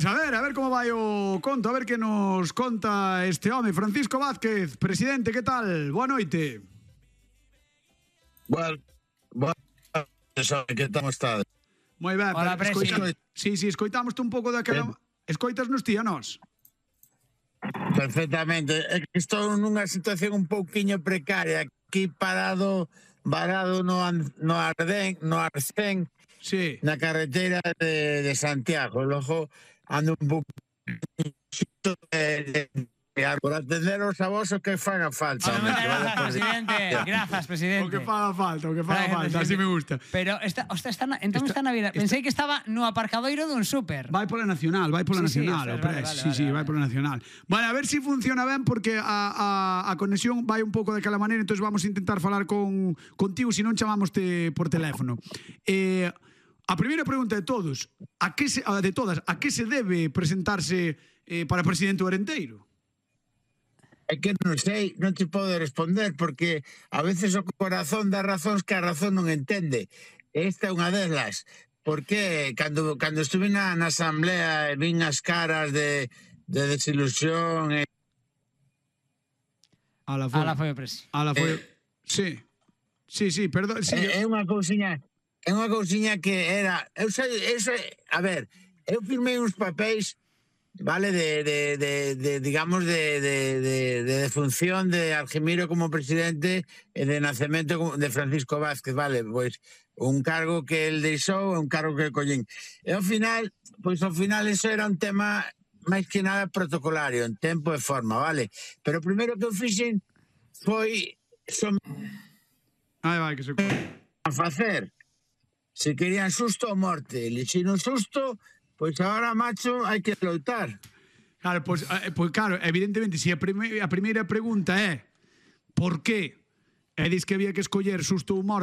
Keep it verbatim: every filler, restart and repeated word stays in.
Pois a ver, a ver como vai o conto, a ver que nos conta este home. Francisco Vázquez, presidente, que tal? Boa noite. Bueno, bueno, que estamos estado. Moi ben, Hola, pero presi. escoita, sí, sí, escoitamos un pouco daquela... Escoitas nos ti a nós? Perfectamente. É que estou nunha situación un pouquiño precaria, aquí parado, varado no, An- no Ardén, no Arcén, Sí. na carretera de, de Santiago. Logo ando un pouco de, de, de, por atenderos a vos o que faga falta. Hola, home, muchas que vale gracias, por- presidente. Gracias, presidente. O que faga falta, o que faga Gracias, falta, así presidente. me gusta. Pero esta, ostras, está na, entón Esta- está na vida. esta- Pensei que estaba no aparcadoiro dun súper. Vai pola Nacional, vai pola Sí, sí, Nacional, ostras, o vale, pres. vale, sí, vale, sí, vale. vai pola Nacional. Vale, a ver se si funciona ben porque a, a, a conexión vai un pouco daquela maneira, entonces vamos a intentar falar con contigo, se non chamámoste por teléfono. Eh, a primeira pregunta de todos, a que se, a, de todas, a que se debe presentarse eh, para presidente do Arenteiro? É que non sei, non te podo responder porque a veces o corazón dá razóns que a razón non entende. Esta é unha delas. Porque cando, cando estuve na, na asamblea e vin as caras de, de desilusión e Ala foi. Ala foi o presi. Ala foi. Eh, Sí. Sí, sí, perdón, sí. é, é unha cousiña é unha cousiña que era eu sei, eso, a ver, eu firmei uns papéis, vale, de, de, de, de digamos de, de, de, de defunción de Argemiro como presidente e de nacemento como- de Francisco Vázquez, vale, pois un cargo que el deixou e un cargo que collín. E ao final, pois ao final eso era un tema máis que nada protocolario, en tempo e forma, vale? Pero o primeiro que eu fixen foi som Ai, vai, que se coi. a facer. Se querían susto ou morte, elixir un susto, pois agora, macho, hai que loitar. Claro, pois, eh, pois claro, evidentemente, se a, prime, a primeira pregunta é por qué? E dis que había que escoller susto ou morte,